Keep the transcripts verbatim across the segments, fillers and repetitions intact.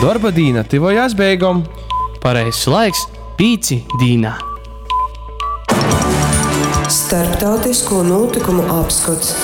Dorba dīna tyvojās beigom. Pareizs laiks pīci dīnā. Starptautisko nūtykumu apskots.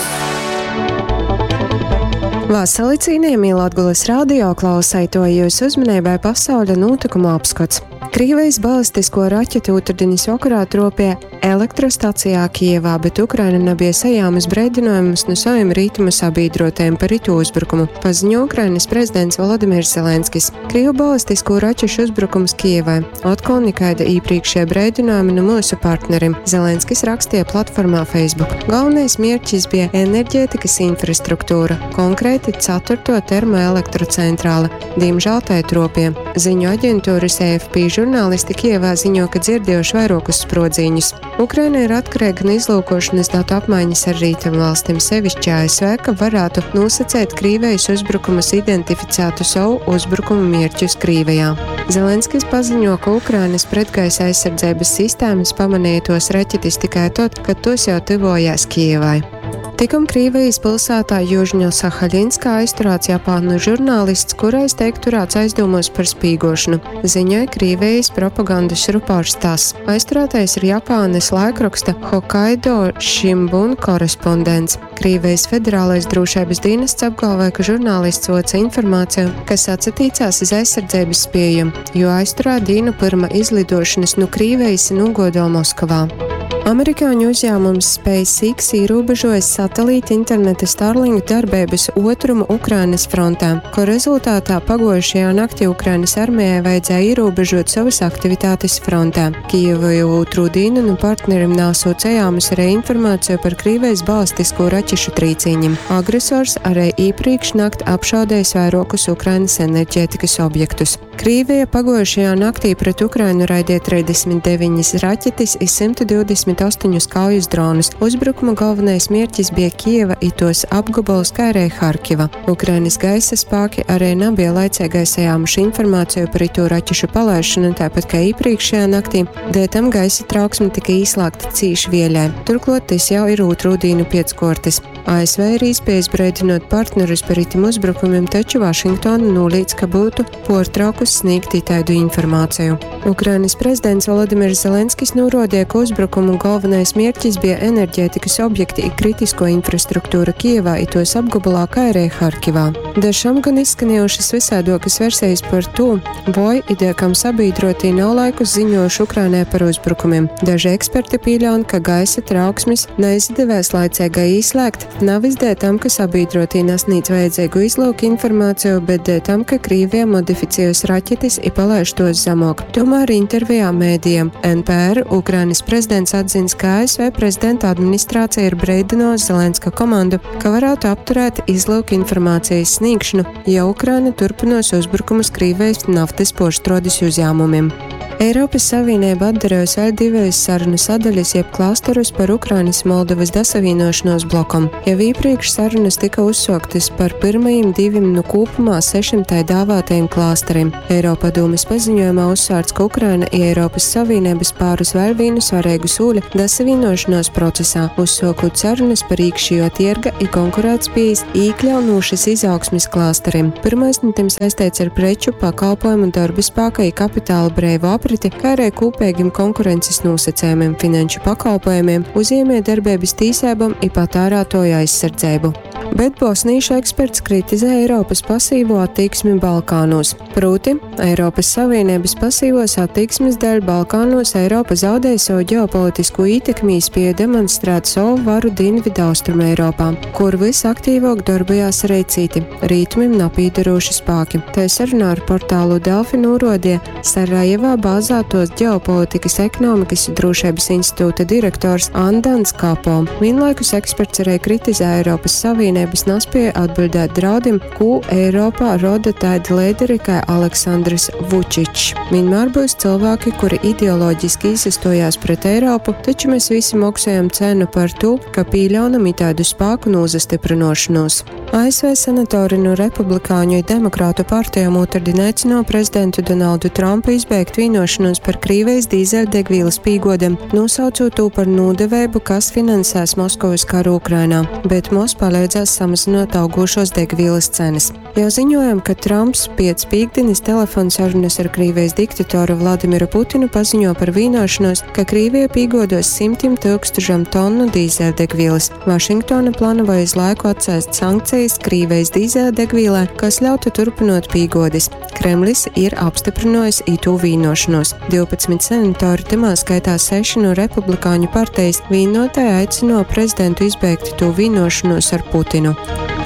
Vasali cienījamie Latgulas radio klausētoji, jūsu uzmanībai pasauļa nūtykumu apskots. Krīvijas balistisko raķeti otrdiņas vakarā tropīja elektrostacijā Kijevā, bet Ukraina nebija sajāmas breidinājumus no saviem rītumu sabiedrotajiem par itu uzbrukumu, paziņo Ukrainas prezidents Volodimirs Zelenskis. Krievu balistisko raķešu uzbrukums Kijevai atkal nekaida iepriekšējie breidinājumi no mūsu partnerim, Zelenskis rakstīja platformā Facebook. Galvenais mērķis bija enerģētikas infrastruktūra, konkrēti ceturto termoelektrocentrāle. Diemžēl tai tropie. Ziņu aģentūras A F P žurnālisti Kijevā ziņo, ka dzirdējuši vairākus sprodziņus. Ukraina ir atkarīga no izlūkošanas datu apmaiņas ar rietumvalstīm, sevišķi A S V, ka varētu nosacīt Krīvijas uzbrukumus identificētu savu uzbrukumu mērķus Krīvijā. Zelenskis paziņo, ka Ukrainas pretgaisa aizsardzības sistēmas pamanīja tos raķetes tikai tad, kad tos jau tuvojās Kijevai. Tikum Krīvijas pilsētā Južņo-Sahaļinskā aizturēts japānu žurnālists, kurais tiek turēts aizdomos par spīgošanu, ziņoja Krīvijas propagandas rupors TASS. Aizturētais ir Japānas laikraksta Hokkaido Shimbun korespondents. Krīvijas federālais drošības dienests apgalvoja, ka žurnālists voca informāciju, kas atsatīcās iz aizsardzības spēju, jo aizturēja dienu pirma izlidošanas no Krīvijas nogodo Moskavā. Amerikāņu uzņēmums SpaceX ierobežojas satelīta interneta Starlink darbības otrumu Ukrainas frontē, ko rezultātā pagojušajā naktī Ukrainas armijai vajadzēja ierobežot savas aktivitātes frontē. Kijevu jau otru dienu no partnerim nav sūcējāmas arī informāciju par Krīvijas balistisko raķešu trīcīņiem. Agresors arī iepriekš nakt apšaudējis vairākus Ukrainas enerģētikas objektus. Krīvija pagojušajā naktī pret Ukrainu raidīja trīsdesmit deviņas raķetes i simt divdesmit astoņus kaujas dronus. Uzbrukuma galvenais mērķis bija Kijeva i tos apgabals, kā arī Harkiva. Ukrainas gaisa spēki arī nebija laicīgai sajāmuši informāciju par itu raķešu palaišanu, tāpat kā iepriekšējā naktī, dēļ tam gaisa trauksme tika īslāgta cīši vielai. Turklāt tas jau ir otru dienu pieckortis. A S V ir īspējis breidinot partnerus par itim uzbrukumiem, taču Vašingtona nolīdz, ka būtu portraukus sniegt itādu informāciju. Ukrainas prezidents Volodimirs Zelenskis norodīja, ka uzbrukumu galvenais mērķis bija enerģētikas objekti i kritisko infrastruktūra Kijevā i tos apgabalā, kā arī Harkivā. Dažam gan izskanējušas visādokas versijas par to, vai ideja, kam sabiedrotī nav laikus ziņojuši Ukrainai par uzbrukumiem. Daži eksperti pieļauj, ka gaisa trauksmes neizdevies laicīgai izslēgt, nav izdē tam, ka sabiedrotī nesniedz vajadzīgu izlūku informāciju, bet dēļ tam, ka Krīvija modificējusi raķetes i palaiž tos zemāk. Tomēr intervijā mēdījiem N P R Ukrainas prezidents atzins, ka A S V prezidenta administrācija ir breidinājusi Zelenska komandu, ka varētu apturēt izlūku informācijas sniegšanu, ja Ukraina turpinos uzbrukumus Krīvijas naftas porštrodes uzņēmumiem. Eiropas Savienība atdarījusi vēl divas sarunu sadaļas jeb klasterus par Ukrainas Moldovas dasavienošanos blokam. Jau iepriekš sarunas tika uzsāktas par pirmajiem diviem no kopumā sešiem tai dāvātajiem klasteriem. Eiropadomes paziņojumā uzsvērts, ka Ukraina i Eiropas Savienības pārus vēl vienu svarīgu soli dasavienošanos procesā, uzsākot sarunas par iekšējo tirga i konkurētspējas iekļaunošas izaugsmes klasteriem. Pirmais no tiem saistīts ar preču, pakalpojumu, darba spēka i kapitāla brīvu apriti, kā arī kopīgiem konkurences nosacījumiem, finanšu pakalpojumiem, uzņēmējdarbības tīsībām i patērētāju aizsardzību. Bet bosnīšu eksperts kritizē Eiropas pasīvo attieksmi Balkānos. Proti, Eiropas Savienības pasīvos attieksmes dēļ Balkānos Eiropa zaudēja savu ģeopolitisko ietekmi, spēja demonstrēt savu varu Dienvidu Austrum Eiropā, kur visaktīvāk darbojās arī citi rietumim napīderoši spēki. Tā sarunā ar portālu Delfi norodīja Sarajevā bāzētos ģeopolitikas, ekonomikas un drošības institūta direktors Andans Kapo. Vienlaikus eksperts arī kritizē Eiropas Savienības nespēja atbildēt draudiem, ko Eiropā roda tādi līderi kā Aleksandrs Vučičs. Vienmēr būs cilvēki, kuri ideoloģiski izstojās pret Eiropu, taču mēs visi maksājam cenu par to, ka pieļaunam itādu spēku nozastiprinošanos. A S V senatori no Republikāņu un Demokrātu partijām otrdien aicināja prezidentu Donaldu Trumpu izbeigt vienošanos par Krīvijas dīzeļdegvielas pīgodiem, nosaucot to par nodevēbu, kas finansēs Maskavas karu Ukrainā, bet mos palīdzēs vīnojās samazynuot augūšuos degvīlys cenys. Jau ziņuojom, ka Tramps piec pīktdinis telefonsarunys ar Krīvejis diktatoru Vladimiru Putinu paziņo par vīnuošonūs, ka Krīvija pīguoduos symtim tyukstušom tonu dīzeļdegvīlys. Vašingtona planavoj iz laiku atcēst sankcejis Krīvejis dīzeļdegvīlai, kas ļautu turpynuot pīguodis. Kremlis ir apstyprynuojs itū vīnuošonūs. Divpadsmit senatori, tymā skaitā seši nu Republikāņu partejis, vīnuotai aicynuo prezidentu izbeigt itū vīnuošonūs ar Putinu.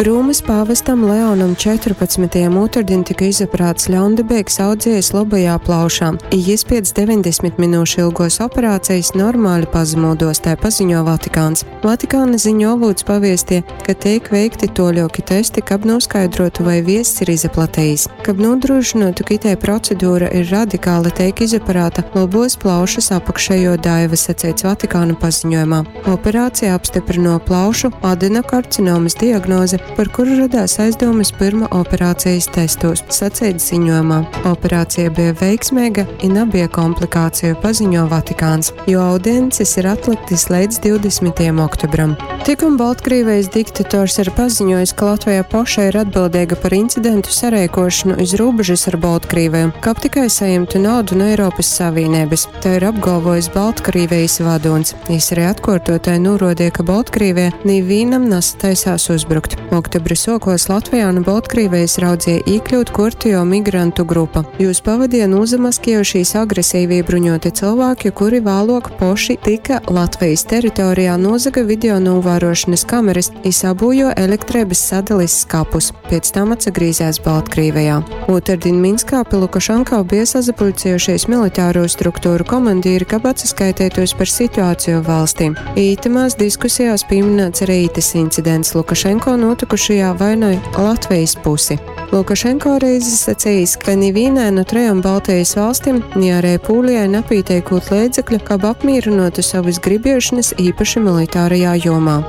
Rūmys pāvestam Leonam Četrupadsmytajam ūtardin tyka izoperāts ļaundabeigs audziejs lobajā plaušā, i jis piec deveņdesmit minūšu ilguos operacejis normali pazamūduos, tai paziņo Vatikāns. Vatikāna ziņu olūts paviestie, ka teik veikti tuoļuoki testi, kab nūskaidruotu, voi viezs ir izaplatejis. Kab nūdrūšynuotu, ka itei procedura ir radikāla, teik izoperāta lobuos plaušys apakšejuo daiva, saceits Vatikāna paziņojumā. Operācija apstyprynuo plaušu adenokarcinomys diagnozi, par kuru radās aizdūmys pyrma operācejis testūs, saceits ziņojumā. Operācija beja veiksmeiga i nabeja komplikāciju, paziņo Vatikāns, jo audiencis ir atliktys leidz divdesmitajam oktobram. Tikom Baltkrīvejis diktators ir paziņojis, ka Latveja poša ir atbildeiga par incidentu sareikošanu iz rūbežys ar Boltkrīveju, kab tikai sajimtu naudu nu Eiropys Savīneibys. Tai ir apgalvojis Baltkrīvejis vadūns. Jis arī atkuortuotai nūruodeja, ka Boltkrīveja nivīnam nasataisās uzbrukt. Oktobra suokuos Latvejā nu Boltkrīvejis raudzeja īkļūt kuortejuo migrantu grupa. Jūs pavadeja nūzamaskiejušīs agresīvi bruņuoti cylvāki, kuri vāluok poši tyka Latvejis teritorijā, nūzaga video nūvāruošonys kamerys i sabūjuo elektreibys sadalis skapus. Piec tam atsagrīzēs Baltkrīvejā. Ūtardin Minskā pi Lukašenko bija sasapuļciejušies militārū struktūru komandīri, kab atsaskaiteitūs par situāciju valstī. Ītamās diskusijās pīmynāts arī itys incidents. Lukašenko nūtykušajā vainoj Latvejis pusi. Lukašenko arī izsacījis, ka nivīnai nu trejom Baltejis valstim, ni arī Pūlijai napīteikūt leidzekļu, kab apmīrynuotu sovys gribiešonys īpaši militārajā jomā.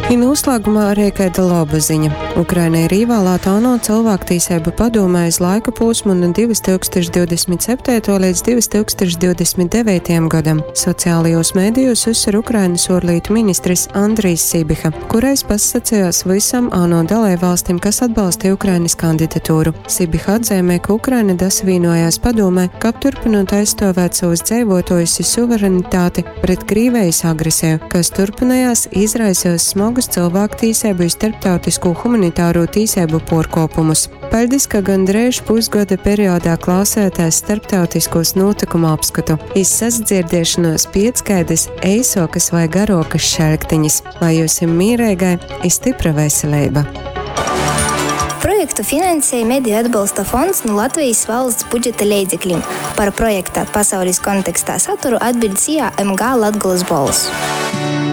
I nūslāgumā arī kaida loba ziņa. Ukraina ir īvālāta ANO Cylvāktīseibu padūmē iz laika pūsmu nu divi tūkstoši divdesmit septeituo līdz divi tūkstoši divdesmit deveitajam godam. Sociālajos mēdījos uzsver Ukrainas uorlītu ministris Andrijs Sibiha, kurais pasacījās visam ANO dalībvalstim, kas atbalstīja Ukrainas kandidatūru. Sibiha atzīmē, ka Ukraina dasavīnojās padomē, kab turpinot aizstāvēt savus dzeivotojus i suverenitāti pret Krīvijas agresiju, kas turpinājās izraisījis smagus cilvēktīsību i starptautiskū humanitāro tīsību puorkuopumus. Paļdis, ka gandreiž pusgoda periodā klausētās starptautiskos notikumu apskatu. Iz sasadzirdiešanos piec kaidys eisuokys vai garuokys šaļktiņis. Lai jiusim mīreigai i stypra veseleiba! Projektu finansēja Mediju atbalsta fonds nu Latvejis valsts budžeta leidzeklim. Par projekta Pasaulis kontekstā saturu atbiļd S I A M G Latgolys Bolss.